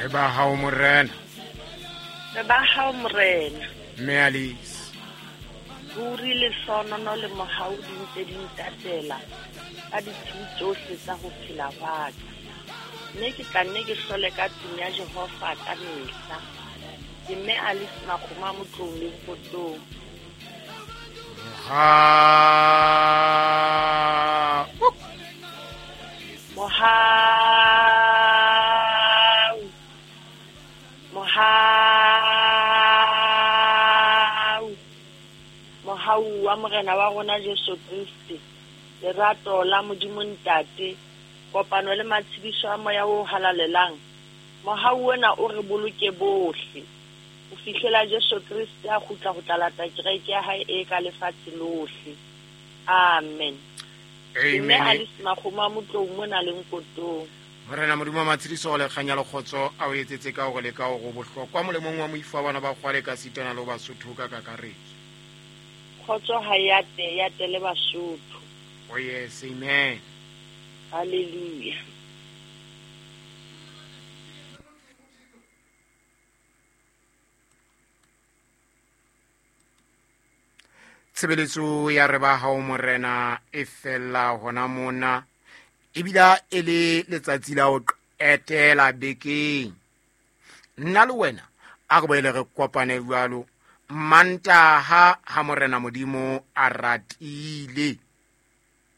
Re ba hao Morena. Re ba hao Morena. Mme Alice. Ruri lehlonono le mohau di ntse di ntatela ka ditshiu tsohle tsa ho phela hwa ka. Mme ke tla nne ke hlole ka tlung ya Jehova ka mehla. Ke mme Alice Makgoma Motlong le Nkotong. Mohau. Mohau. Mohau. Mohau wa Morena wa rona Jesu Kriste, lerato la Modimo Ntate, kopano le matshediso a Moya o Halalelang, mohau ona o re boloke bohle, ho fihlela Jesu Kriste a kgutla ho tla lata kereke ya hae e ka lefatshe lohle. Amen. Ke mme Amen. Alice Makgomo a Motlou mona le Nkotong. Morena Modimo wa matshediso le kganya le kgotso a o etsetse ka hore le ka hore o bohlokwa molemong wa moifo wa bana ba kgwale ka sitana le ho Basotho ka kakaretso. Kgotso ha e ate, e ate le Basotho. Oh yes, amen. Hallelujah. Tshebeletso ya re ba hao Morena e fella hona mona, ebila e le letsatsi la ho qetela bekeng. Nna le wena a re boele re kopane jwalo Mantaha ha Morena Modimo a ratile.